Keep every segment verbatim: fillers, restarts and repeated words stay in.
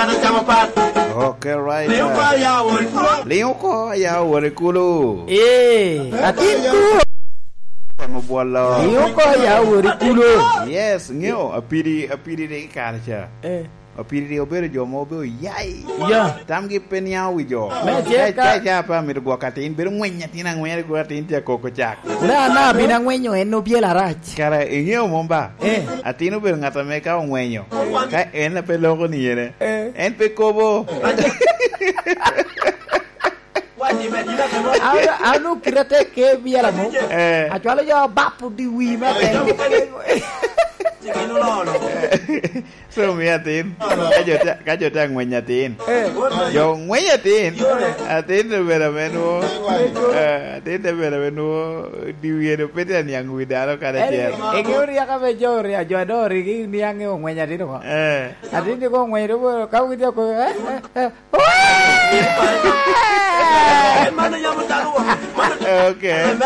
Okay, right. Liŋ oko aya wot i kulu. Liŋ oko aya wot i kulu. Ee, atin ku. Kwamo bwolo. Liŋ oko aya wot i kulu. Yes, ŋeo, apidi, apidi rik i kare ca. Eh. Apidi rik obedo jo ma obedo yai. Ya. Tamgi pe niaŋ wi jo. Me tye Ca, ka ca, ca pe amito gwok atin, bedo ŋweny atin aŋweny, gwok atin tye akoko cak. Na, na, bin aŋwenyo en obyelo arac. Kara iŋeo mom ba? Eh. Atin obedo ŋat ame ka oŋwenyo, ka en pe loko ni yene, eh, en pe kobo. An, an okita tek ke biela mo. Eh. Acwalo jo bap odi wi me tek. So, mi atin, ka jo te, ka jo te aŋweny atin, eh, jo ŋweny atin, atin te bedo ame nwo, eh, atin te bedo ame nwo, di wiye do pe tye aniaŋ wi dano kadi acel. Egi oryaka me jo orya, jo ado origi niaŋ i oŋweny atin oko. Eh. Atin ni ko oŋweny do, ka wigi tye oko, eh, eh, eh. Okay.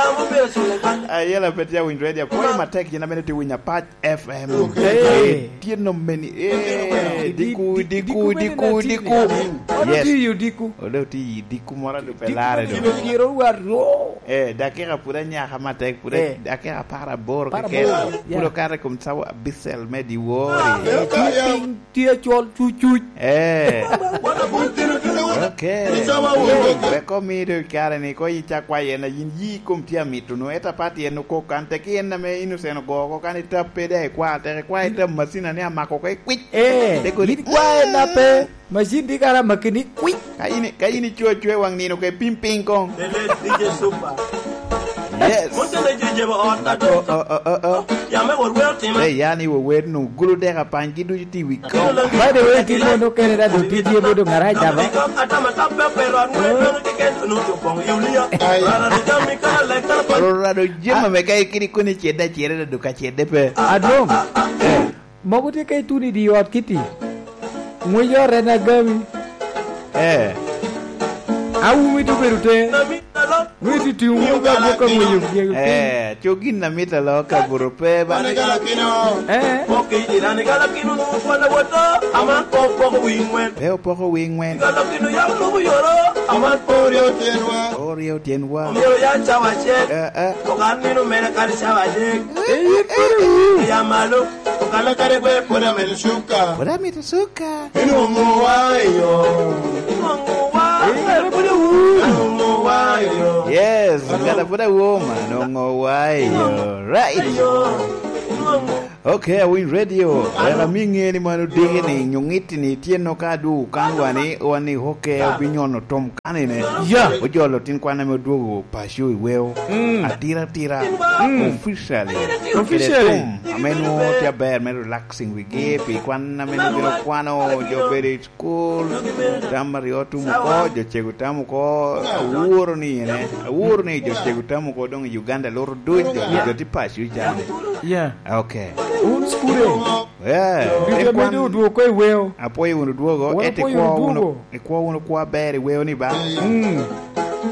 Ayela pe tye awinyo radio. Apwoyo matek, yin amene tye winyo apac F M. Hey. Tye nom meni. Eh, diku, diku, diku, diku. Yes. Ode oti yi diku moro a lube lare do. Eh, dakika pud anyaka matek, pud dakika apar aboro keken. Pud okato i kom cawa abicel me dyewor. Tye acol cucuc. Eh. Okay. Wek omi do i kare ni, ko yin ca kwayo en, yin yi kom tye amito no, ento apat yen okok kan, teki en ame innocent ogo oko, kan itap pe daŋ ikwa, tek ikwa itap macin ni amako oko ikwic. Eh, tek odi, yin kwa en ape, macin di kara maki ni kwic. Ka yin, ka yin ico acoa i waŋ nino, ke pim piny koŋ. Lele D J Super. Yes. Mon tene jo jebo ot na to. Oh, oh, oh, oh, oh. Yame wot wer otime. Hey, yani wo wer nu gulu dek apany gi ducu ti wi kom. By the way, ti mon okene da do ti jebo do ngara jaba. Atama tape pe ran mo no ti ken no to pong Yulia. Rara de jami ka le ka pa. Rara do jema me kai kiri kuni cheda chere da do ka chede pe. Adwong. Eh. Mogo tye ka ituno i dye ot kiti. Ŋwec ot en agami. Eh. Awumi to bedo te. Ŋwec iti ŋwec agwok ka ŋwec ogwok. Eh, co gin amit alo kabuto pe ba. Eh. Pok i irani galakino nu kwala woto, ama pok pok wi ŋwen. Pe opoko wi ŋwen. Galakino yam lubu yoro, ama pok oryo tyenwa. Oryo tyenwa. Omyero ya cawa acel. Eh, eh. Okan nino mene kadi cawa adek. Eh, yin pwod iwu. Ya malo. Okalo kare gwe pwod amedo cuka. Pwod amedo cuka. Inwoŋo wa i yo. Inwoŋo wa. Eh, yin pwod iwu. Inwoŋo wa i yo. Yes, ngata pwod awoma, nwoŋo wa i yo. Right. Inwoŋo. Okay, awiny radio. Wek ami ŋe ni man odiki ni, nyo ŋitti ni, tyen no ka adwogo kan wani, wani, okay, obinyono tom kanene. Ya. Ojolo tin kwan ame odwogo paco i weo. Mm. Atira atira. Mm. Officially. Officially. Kede thum, ame nwo tye aber me relaxing wigi, pi kwan ame nwo bino kwano, jo bedo i school, tam aryo tum oko, jo cego tam oko, awuro ni ene, awuro ni jo cego tam oko dong i Uganda loro duc, jo, jo tye paco i cani. Yeah. Okay. Un school. Yeah. Video medo odwoko i weo. Apwoyo wunu dwogo, wan ento apwoyo ikwo wunu wunu dwogo. Ikwo wunu kwo aber i weo ni ba? Mm.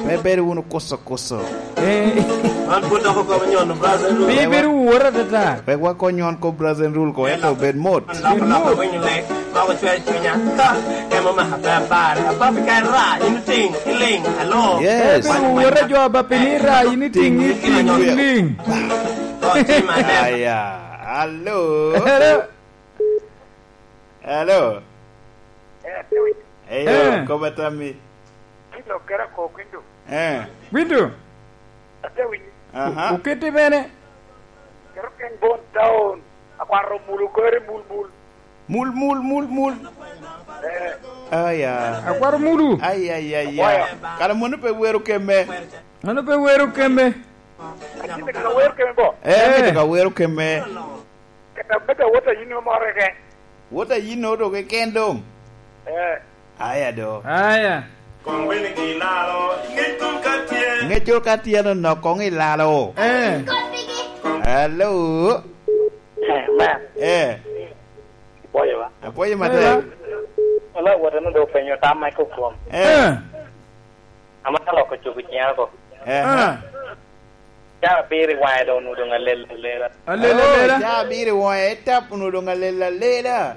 Pe ibedo wunu kuso kuso. Eh. An pwod dok okobo nyono, brother. Pe ibedo woro atata. Wek wakony nyon kop brother and rule ko, ento obed mot. An dok, dok awinyo lek, dok ocweyo cunya. Ka, ema omaka pe apare. Apapi ka ira, in iting, iliŋ, alo. Yes. Pe ibedo woro jo apapi ni ira, in iting, iting, iliŋ. Aya. Alo. Hello. Hello. Eh, ate winyo. Eyo, eh, koba tammi. Kilo kera ko Gwindo. Eh. Gwindo. Ate winyo. Aha. Okete bene. Kero ken bon town. Akwaro mulu kore mul mul. Mul, mul, mul, mul. Eh. Aya. Akwaro mulu. Ay, ay, ay, ay. Akwaro. Kara mono pe wero keme. Mano pe wero keme. Atin ka wero keme bo. Eh, eh. Ka wero keme. Kata bed awot a yin omorre ke. Wot a yin oto keken dong. Eh. Aya do. Aya. Kong bene gilaro, ŋec kong ka tye. Ŋec kong ka tye no, nok kong ilaro. Eh. Hello. Eh, man. Eh. Apwoyo ba. Apwoyo matek. Wala wot eno do penyo tam ma iko kwom. Eh. Eh. Amaka loko cuku ciŋa oko. Eh. Eh. Ca abiro i waŋe dong onwoŋo dong alel alela. Alel alela. Oh, ca abiro i waŋe, etap onwoŋo dong alel alela.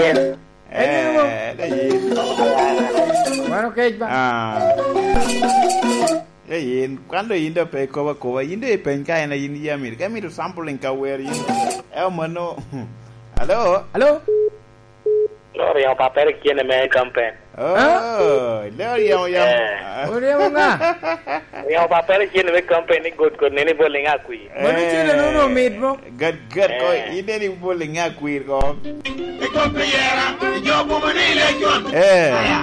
yin. Eh, de yin. Wan okec ba. Ah. De yin. Kan do yin do pe ikobo akoba. Yin do ipeny ka en a yin yam iri. Ka imito sampling ka wer yin. Eo mano. Alo? Alo? Loro yamo papere kene me kampen. Oh, leo yamo yamo. Eh. Oryemo ŋa? Yamo papere kene me kampen ni got got nene bol iŋa kwi. Mano cene nono omit mo? Gat gat ko, eh, ine ni bol iŋa kwir ko. I kop yera, i jo boma ni ile con. Eh. Aya.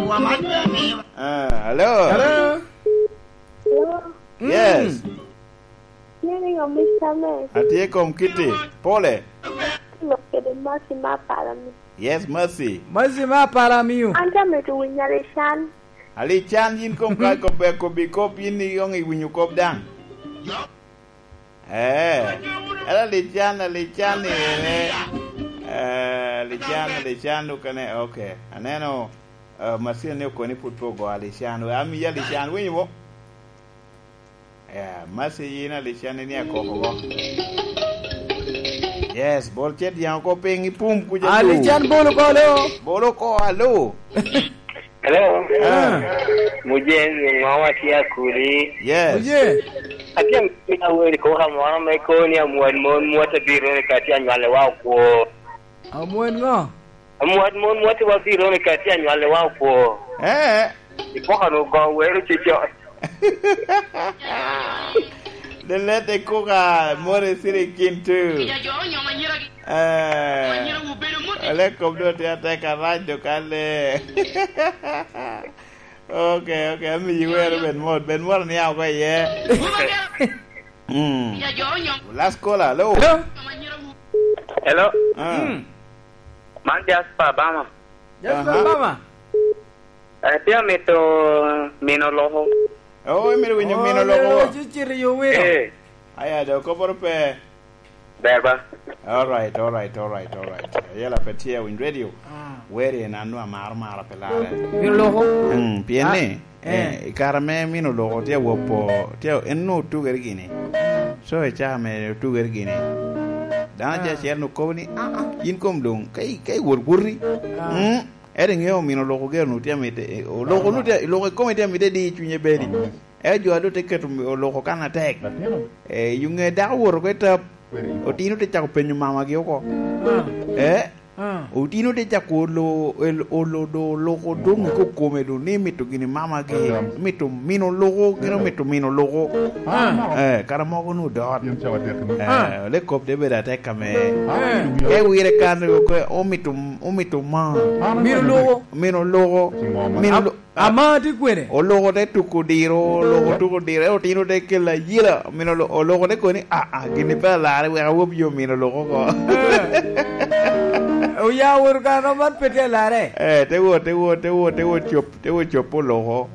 Wa man be ni. Ah, hello. Hello. Hello. Yes. Mm. Nying ringo Mister Mess. Atye kom Kitty. Pole. Lok kede Mercy ma Apalami. Yes, Mercy. Mercy ma Apalami. An te mito winyo Alican. Alican, yin kom ka kobbe kobbi kop, yin iyoŋ iwinyo kop daŋ. Eh, era Alican, Alican ni ene. Eh, Alican, Alican okene, okay. Aneno, eh, Mercy ni okoni put pe ogo Alican. We amiyi Alican, winyo mo? Yeah, Mercy yin Alican ni akoko go. Yes, bol cet yaŋ oko piny i pum kuca. Alican bolo ko, alo. Bolo ko, alo. Hello. Ah. Mujeng, ŋo watye akuli? Yes. Mujeng. Atye amito aweri koko amoro me koni amwal mon mwate biro ni kati anywale wa okwo. Amwal ŋo? Amwal mon mwate wa biro ni kati anywale wa okwo. Eh. Ipoko nu go wero cicot. The late Kuka, more siri kin too. Eh, ole kom do tye atek arac do kale. Okay, okay, ami yi wero ben mot, ben mot ni ako iye. Mm. Last caller, hello. Hello. Hello. Ah. Mm. Man Jasper Bama. Jasper Aha. Bama. Eh, tye amito mino loko. Oh, imito winyo mino loko? Oh, lelo ci cito yo wino. Eh. Aya, do koporo pe. Ber ba. All right, all right, all right, all right. Yela pe tye winy radio. Ah. Weri en anu amaro mara pe lare. Mino loko? Mm, pien ni, ah, eh, eh, i kare me mino loko tye awopo, tye en nu tugere gini. So, i caa me tugere gini. Dano, ah, acel acel nu kobo ni, ah, ah, yin kom dong, ka i-, ka iwot woti. Ah. Mm. Ento iŋeo omino oloko gero nu tye amite, eh, oloko nu tye, oloko ikome tye amite di i cunye bedi. Ento jo a doŋ te keto mi-, oloko kan atek. Eh, i ŋe dako owoto oko i tap, otino te cako penyo mamagi oko. Eh? Otino te cako olo-, el-, olo-, do-, oloko doŋ i kome doŋ ni mito gini mamagi, mito mino oloko, gin omito mino oloko. Eh, kara mogo nu dot. Eh, ole kop te bedo atek ame. Ka iwire kan, omito, omito ma. Mino oloko. Mino loko. Mino lo-, ama tye kwene? Oloko te tuko diro, oloko tuko diro, ento otino te kelo ayela. Mino lo-, oloko te koni, "Ah, ah, gini pe alarre, wek awob yo mino loko oko." Eh. Oya wot kan man pe tye alarre. Eh, te wot, te wot, te wot, te wot cop, te wot cop oloko.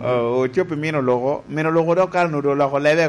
Oh, ocop i mino loko. Mino loko dok kare nu do oloko lebe.